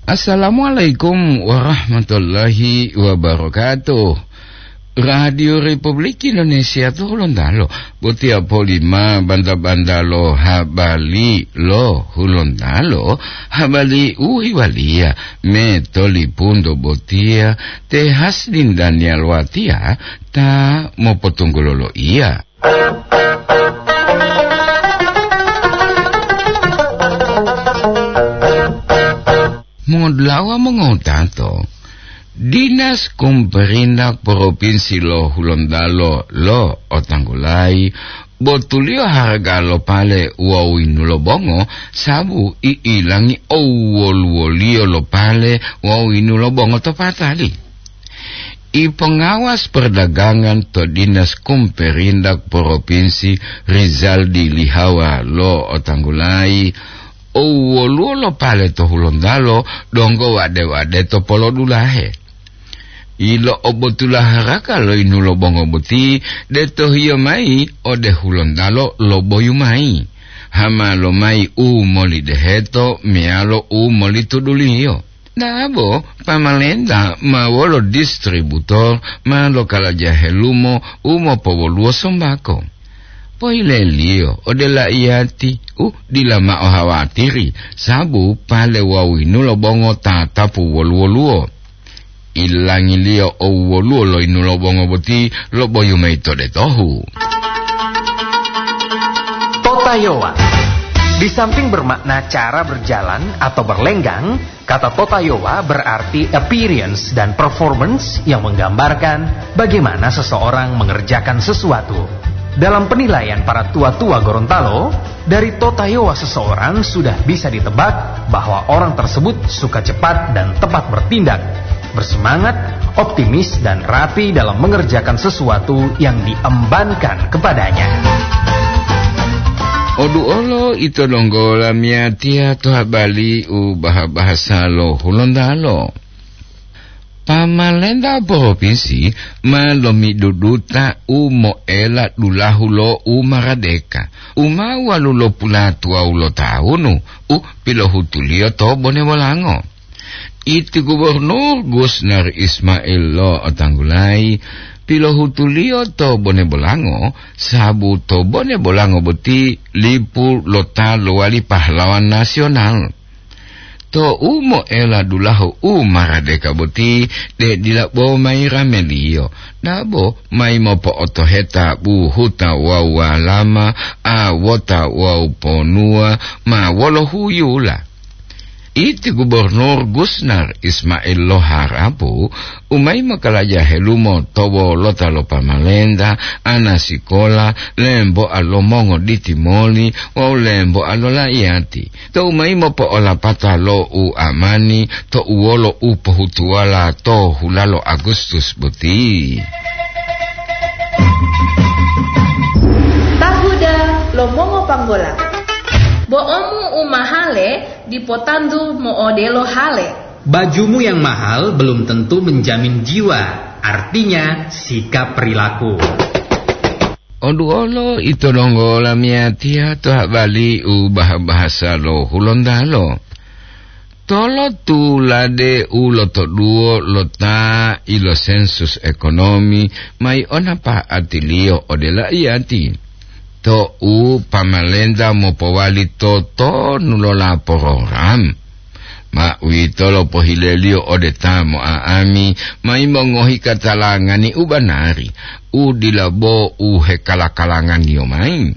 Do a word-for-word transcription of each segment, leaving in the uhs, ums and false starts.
Assalamualaikum warahmatullahi wabarakatuh. Radio Republik Indonesia to Hulontalo, botiya polima banta-banta lo habari lo Hulontalo, habari u hiwaliya me tolipunto botiya te Hasdin Daniel Watiya ta mopotunggulo lo iya. Mongolawa mongotato, Dinas Kumperindak Propinsi lo Hulontalo lo otanggulayi botuliyo haraga lo pale wawu yinulo bongo, sabu i'ilangi owoluwoliyo lo pale wawu yinulo bongo to patali. I pengawas perdagangan to Dinas Kumperindak Propinsi, Rizaldi Lihawa lo otanggulayi, owoluwo lo pale to Hulontalo donggo wade-wade to polodulahe. Ilo'obotula haraka lo yinulo bongo boti de tohiyo mayi ode Hulontalo lo boyu mayi, hama lomayi u molideheto meyalo u molituduliyo. Dabo pamalenta ma wolo distributor ma lokalaja helumo u mopowoluwo sombako. Pohileliyo ode laiyati u dila mao hawatiri, sabu pale wawu yinulo bongo tatapu woluwo-luwo. Ilangiliyo owoluwo lo yinulo bongo boti lo boyu mayi to detohu. Totayowa. Di samping bermakna cara berjalan atau berlenggang, kata totayowa berarti appearance dan performance yang menggambarkan bagaimana seseorang mengerjakan sesuatu. Dalam penilaian para tua-tua Gorontalo, dari totayowa seseorang sudah bisa ditebak bahwa orang tersebut suka cepat dan tepat bertindak, bersemangat, optimis, dan rapi dalam mengerjakan sesuatu yang diembankan kepadanya. Odu olo ito donggo lamiyatiya to habari u baha-bahasa lo Hulontalo. Pamalenta propinsi ma lomiduduta u moela dulahu lo u maradeka, u ma walulopulatuwawu lo tawunu, u pilohutuliyo to Bone Bolango. Iti Gubernur Gusnar Ismail lo otanggulayi pilohutuliyo to Bone Bolango, sabu to Bone Bolango boti lipu lo ta lowali pahlawan nasional. To u moela dulahu u maradeka boti, de dila bo mayi rameliyo, dabo mayi mopo'otoheta buhuta wawu walama, awota wawu ponuwa ma wolo huyula. Iti Gubernur Gusnar Ismail lo Harapu, u mayi mokalaja helumo to wolota lo pamalenta, ana sikola, lemboa lo mongoditimoli wawu lemboa lo laiyati. Tou mayi mopo'olapata lo u amani to uwolo u pohutuwala to hulalo Agustus boti. Tahuda lo mongopanggola. Bo'omu u mahale dipo tantu mo'odelo hale. Bajumu yang mahal belum tentu menjamin jiwa, artinya sikap perilaku. Oduolo ito donggo lamiyatiya to habari u baha-bahasa lo Hulontalo. Tolo tulade u lotoduwo lo ta ilo sensus ekonomi mai ona pa'atiliyo ode laiyati. To u pamalenta mopowali totonu lo la program. Ma uwitolo pohileliyo ode ta mo'a'ami, mayi mongohi katalangani u banari, u dila bo u hekala-kalanganiyo mayi.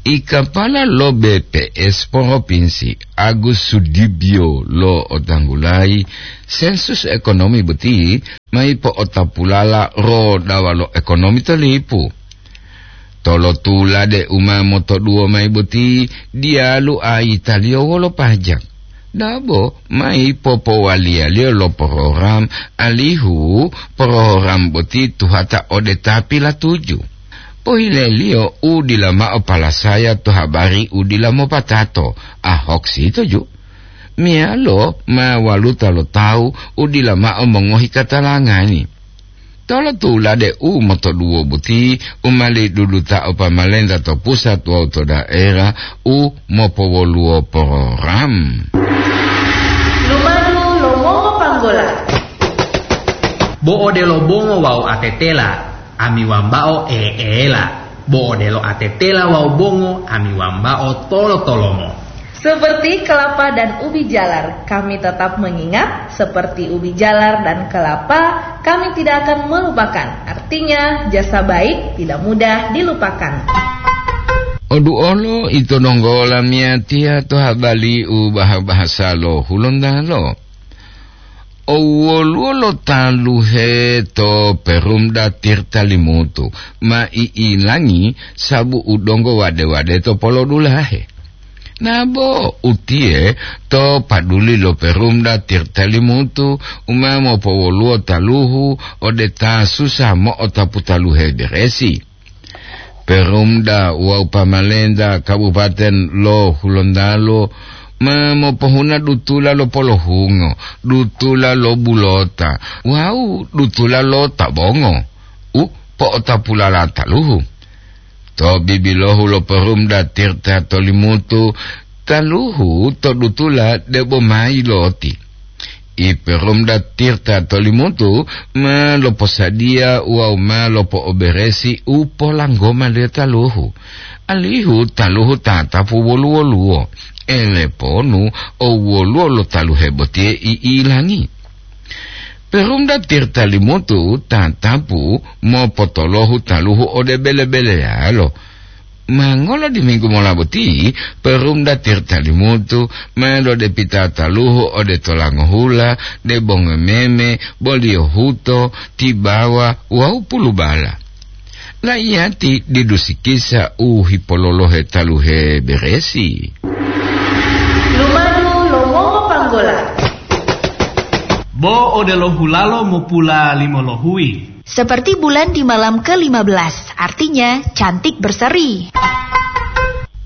I kapala lo B P S Propinsi, Agus Sudibyo lo otanggulayi, sensus ekonomi boti mayi po'otapulala rodawa lo ekonomi to lipu. Tolotulade u ma motoduwo mayi boti diyalu ayitaliyo wolo pajak. Dabo mayi popowaliyaliyo lo program, alihu program boti tuhata ode ta pilatuju. Pohileliyo u dila mao palasaya to habari u dila mopatato, ahok sitoju. Meyalo ma waluta lo tawu u dila mao mongohi katalangani. Tolotulade u motoduwo boti u ma ledudutao pamalenta to pusat wawu to daerah u mopowoluwo program. Lumadu Bo odelo bongo wawu atetela, ami wambao eela. Bo odelo atetela wawu bongo, ami wambao tolo-tolomo. Seperti kelapa dan ubi jalar, kami tetap mengingat, seperti ubi jalar dan kelapa, kami tidak akan melupakan. Artinya, jasa baik tidak mudah dilupakan. Oduolo ito donggo lamiyatiya to habali u baha-bahasa lo Hulontalo. O woluwo lo taluhe to Perumda Tirta Limutu ma i'ilangi sabu u donggo wade-wade to polodulahe. Nabo utiye to paduli lo Perumda Tirta Limutu u ma mopowoluwo taluhu ode ta susa mo'otapu taluhe beresi. Perumda wawu pamalenta Kabupaten lo Hulontalo ma mopohuna dutula lo polohungo, dutula lo bulota, wawu dutula lo tabongo u po'otapulala taluhu. To bibilohu lo Perumda Tirta Tolimutu, taluhu to dutula debo mayi loti. I Perumda Tirta Tolimutu ma loposadiya wawu ma lopo'oberesi u polanggoma le taluhu, alihu taluhu tatapu wolu-woluwo, eleponu o woluwo lo taluhe botiye i'ilangi. Perumda Tirta Limutu tatapu mopotolohu taluhu ode bele-beleyalo. Ma ngolo diminggu mola boti, Perumda Tirta Limutu ma lodepita taluhu ode tolangohula, debongo meme, boliyo huto, tibawa wawu pulubala. Laiyati didu sikisa u hipololohe taluhe beresi. Lumadu lo mongo panggola. Bo odelo hulalo mopula limo lohuyi. Seperti bulan di malam ke lima belas, artinya cantik berseri.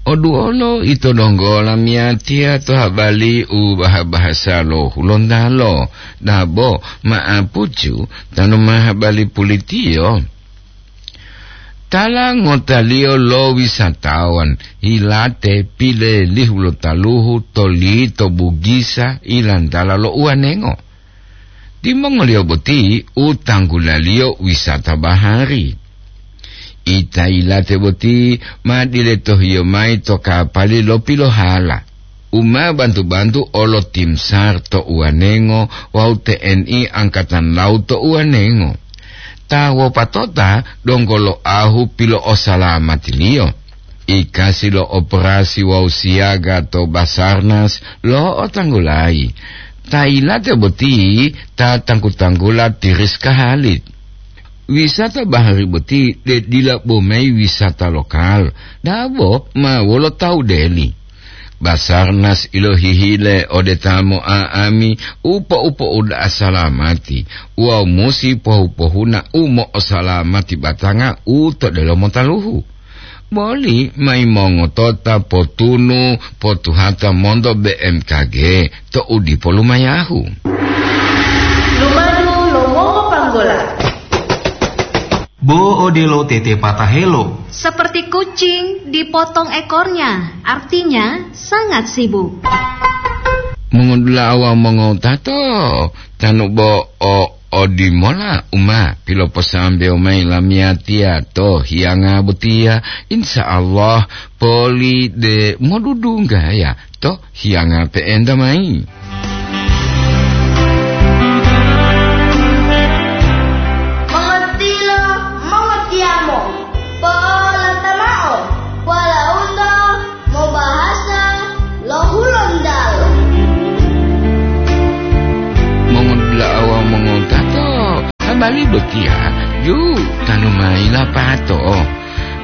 Oduolo ito donggo lamiyatiya to habali u baha-bahasa lo Hulontalo, dabo ma'apucu tanu ma habali pulitiyo. Tala ngotaliyo lo wisatawan yilate pilelihu lo taluhu to lito Bugisa ilantala lo uwanengo. Timongoliyo boti u tanggulaliyo wisata bahari. Ita yilate boti ma diletohiyo mayi to kapali lo pilohala, u ma bantu-bantu olo tim sar to uwanengo wawu T N I Angkatan Laut to uwanengo. Ta wopatota donggo lo ahu pilo'osalamatiliyo. Ikasi lo operasi wawu siyaga to Basarnas lo'otanggulayi. Ta yilate boti ta tanggu-tanggula Tiriska Halid. Wisata bahari boti de dila bo mayi wisata lokal, dabo ma wolo tawu deli. Basarnas ilohihile ode ta mo'a'ami u po-upo'uda'a salamati wawu musi pohu-pohuna u mo'osalamati batanga u to delomo taluhu. Boli mayi mongotota potunu potuhata monto B M K G to u dipo lumayahu. Lumadu lo mongo panggola. Bo odelo tete patahelo. Seperti kucing dipotong ekornya, artinya sangat sibuk. Mongodula'a wawu mongotato, tanu bo o odimola u ma piloposambewo mayi lamiyatiya to hiyanga botiya, insya Allah poli de modudunggaya to hiyanga pe'enta mayi. Mongotilo, mongotiyamo, po'olata mao, walaundo mobahasa lo Hulontalo. Mongodula'a wawu mongotato, habari botiya ju tanu mayi lapato.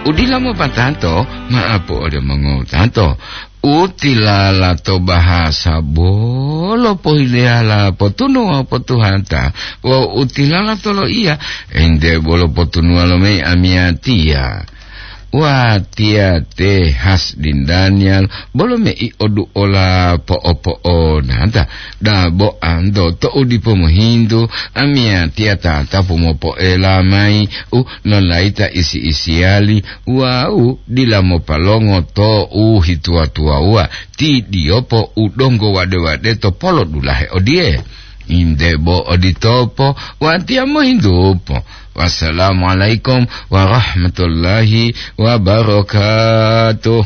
Udila mopatato, ma'apu ode mongotato. U tilala to bahasa bolo pohileyala potunuwa potuhata, wawu u tilala to loiya ente bolo potunuwa lo mayi amiyatiya. Watiya te Hasdin Daniel bolo mei oduola po'opo'onata, dabo anto to'u dipo mohintu, amiyatiya tatapu mopo'ela mayi u nolayita isi-isiyali wawu dila mopalongo to u hituwa-tuwawuwa, ti diyopo u donggo wade-wade to polodulahe odiye. Inde bo oditopo, watiya mohintupo. Wassalamualaikum warahmatullahi wabarakatuh.